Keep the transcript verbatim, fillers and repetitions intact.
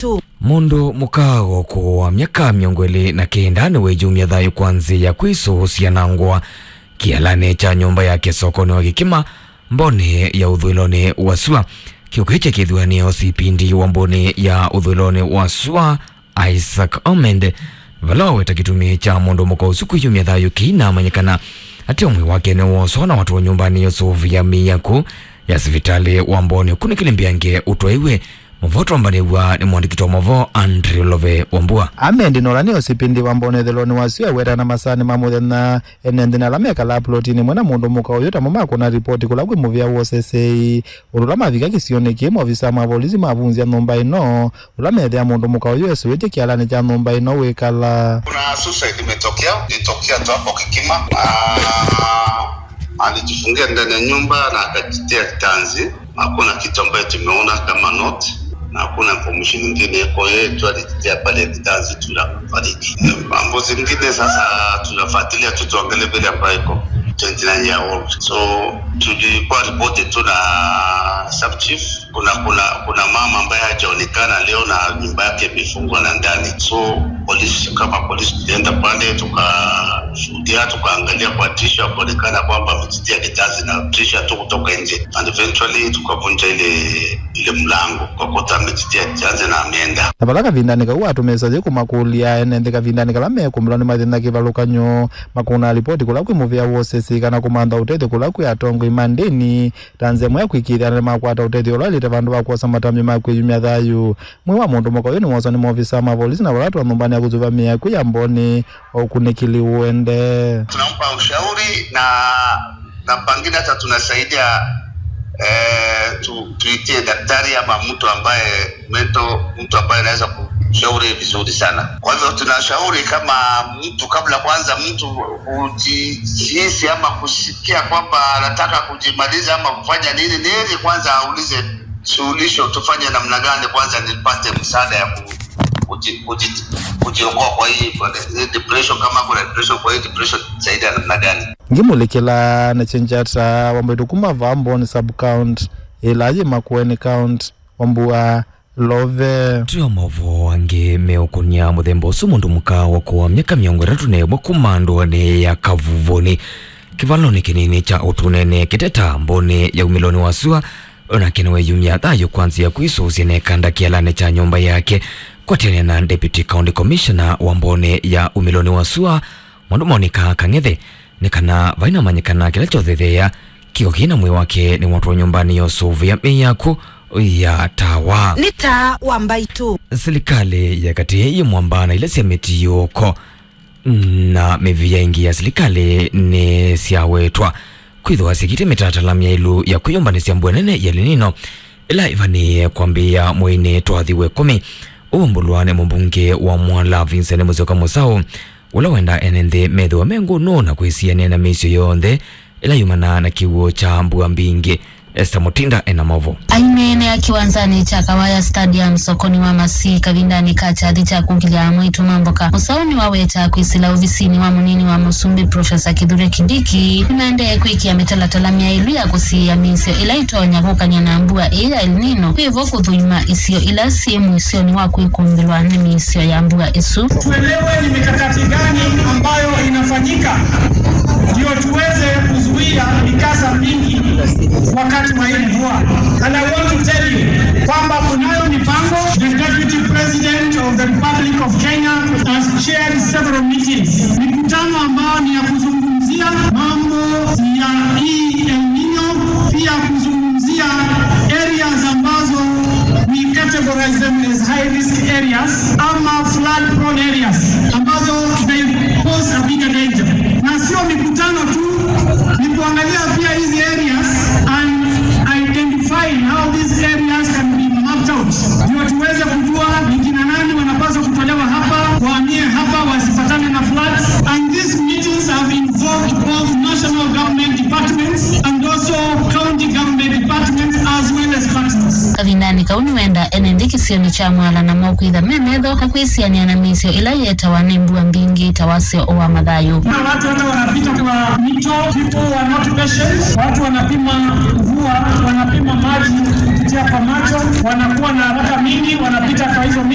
Mbaitũ. Mũndũ mũka wa ũkũũ wa myaka mĩongo ĩlĩ na kenda nĩweyumya thayũ kwa nzĩa ya kwĩsũsya na ngũa kĩalanĩ kya nyũmba yake sokonĩ wa Kĩkima, Mbonĩ ya ũthũĩlonĩ wa sua. Kĩũkĩ kya kĩthuanĩo C P D wa Mbonĩ ya ũthũĩlonĩ wa sua, Isaac Omende, vala waweta kĩtumi kya mũndũ mũka ũsu kwĩyumya thayũ kĩinamanyĩkana atĩ mwĩĩ wake nĩwoswa na watwawa nyũmbanĩ ya ũsũvĩa mĩako ya sivitalĩ wa Mbonĩ ũkunĩkĩle mbeange ũtwaĩwe. Mũvoto wambanĩw'a nĩ mwandĩki wa maũvoo Andrew Love Wambua. Amendi na ũla nĩ O C P D wa Mbonĩ ũthũĩlonĩ wa sua awetana masaanĩ ma mũthenya ene nthĩ na ala mekalaa plotinĩ ĩmwe na mũndũ mũka ũyũ tamo makũna ripoti kũla kwĩ mũvĩa wa ũsesei. Ũndũ ũla mavika kĩsionĩ kĩĩ, maovisa ma volisi mavunzya nyũmba ĩno, ũla methĩa mũndũ mũka ũyũ esũĩtye kĩalanĩ kya nyũmba ĩno wĩkala. Kuna suicide imetokea, ilitokea tu hapo Kikima. Ah, alijifungia ndani ya nyumba na akajitia kitanzi. Hakuna kitu ambayo tumeona kama note, na hakuna information nyingine. Kwa hiyo tu alijitia pale kitanzi tu na kufariki. Mambo zingine sasa tunafuatilia tu, tuangalie vile ambayo iko twenty nine year old. So tulikuwa reported tu na sub chief. Kuna, kuna, kuna mama ambaye hajaonekana leo na nyumba yake imefungwa na ndani. So polisi, kama polisi tulienda pale tukashuhudia, tukaangalia kwa tishu, akaonekana kwamba amejitia kitanzi na tishu tu kutoka nje, and eventually tukavunja ile, ile mlango, tukakuta amejitia kitanzi na ameenda. Na vala kavindanĩ kau atũmĩĩsya yĩ kũmakũlya ene nthĩ kavindanĩ kala mekũmĩlwa nĩ mathĩna kĩvalũkanyo, makũna ripoti kũla kwĩ mũvĩa wa ũsesei kana kũmantha ũtethyo kũla kwĩ atongoi ma ndĩni, ta nzĩa ĩmwe ya kũĩkĩĩthya nĩmakwata ũtethyo ũla waĩlĩte vandũ va kwosa matambya ma kwĩyumya thayũ. Mwĩĩ wa mũndũ mũka ũyũ nĩwoswa nĩ maovisa ma volisi na vala watwawa nyũmbanĩ ya kũsũvĩa mĩĩ ya kwĩ ya Mbonĩ, o ũkunĩkĩli ũendee. Tunampa ushauri na, na pangine hata tunasaidia, eh, tu-, tuitie daktari ama mtu ambaye mental, mtu ambaye anaweza kushauri vizuri sana. Kwa hivyo tunashauri kama mtu, kabla kwanza mtu kujihisi ama kusikia kwamba anataka kujimaliza ama kufanya nini, ni heri kwanza aulize suluhisho, tufanye namna gani kwanza nipate msaada ya ku-, kuji-, kuji-, kujiokoa kwa hii, kwa hii depression, kama kuna depression, kwa hii depression saidia namna gani? Ngĩmũlikĩla na Chenjata wa Mbaitũ kuma vaa Mbonĩ sub-county, ĩla yĩ Makueni County, Wambua Love. Twĩ o maũvoo angĩ meũkũnĩa mũthemba ũsu, mũndũ mũka wa ũkũũ wa myaka mĩongo ĩtatũ na ĩmwe kuma ndũanĩ ya Kavuvoni, kĩvalonĩ kĩnini kya Ũtunene, Kĩteta, Mbonĩ ya umĩlonĩ wa sua, onake nĩweyumya thayũ kwa nzĩa ya kwĩsũsya na ĩkanda kĩalanĩ kya nyũmba yake. Kwatene na Deputy County Commissioner wa Mbonĩ ya umĩlonĩ wa sua, Mwandũ Monica Kang'ethe, nĩ kana vainamanyĩkana kĩla kyothetheea, kĩko kĩĩ na mwĩĩ wake nĩwatwawa nyũmbanĩ ya ũsũvĩa mĩĩ ya kw'o ya Tawa. Nĩ Taa wa Mbaitũ. Silikalĩ ya katĩ yĩ mwamba na ila sya mĩtiũko na mĩvĩa ĩngĩ ya silikalĩ nĩsyawetwa kwĩthĩwa syĩkĩte mĩtalatala myaĩlu ya kwĩyũmbanĩsya mbua nene ya El Nino, ĩla ĩvanĩĩe kwambĩĩa mweinĩ twathi wa ĩkũmi. Ũu ũmbũlwa nĩ mũmbunge wa Mwala Vincent Musyoka Mũsaũ, ũla wendaa ene nthĩ methĩwe me ngũnũ na kwĩsianĩa na mĩisyo yonthe ĩla yumanaa na kĩw'ũ kya mbua mbingĩ. Esther Mutinda ena maũvoo. Aineenea kĩwanzanĩ kya Kawaya Stadium, sokoni wa Masii, kavindanĩ ka kyathi kya kũkilya amwaitũ ma mboka, Mũsaũ nĩwaweta kwĩsĩla ovisinĩ wa mũnini wa mũsumbĩ, Professor Kithure Kindiki, nĩmaendee kwĩkĩa mĩtalatala myaĩlu ya kũsiĩĩa mĩisyo ĩla ĩtonya kũkany'a na mbua ĩĩ ya El Nino, kwĩvo kũthũima isio ila syĩ mũisyonĩ wa kwĩkũmbĩlwa nĩ mĩisyo ya mbua ĩsu. Tuelewe ni mikakati gani ambayo inafanyika ndio tuweze kuzuia mikasa mingi wakati wa hii mvua. And I want to tell you kwamba kunayo mipango. The Deputy President of the Republic of Kenya has chaired several meetings, mikutano ambayo ni ya kuzungumzia mambo ya hii El Nino, pia kuzungumzia areas ambazo we categorize them as high risk areas ama flood prone areas ambazo they pose a bigger danger. Na sio mikutano tu, ni kuangalia pia hizi areas and identify how these areas can be mapped out, ndio tuweze kujua ni kina nani wanapaswa kutolewa hapa, wahamie hapa, wasifatane na floods. And these meetings have involved both national government departments and also county government departments as well as partners. Kavindanĩ kau nĩwenda ene nthĩ kĩsionĩ kya Mwala namo kwĩtha me metho na kwĩsianĩa na mĩisyo ĩla yĩetawa nĩ mbua mbingĩ ta wasyo wa mathayũ. Kuna watu hata wanapita kwa mito, people who are not patient, watu wanapima mvua, wanapima maji. kwa macho, wanakuwa na haraka mingi, wanapita kwa hizo mila.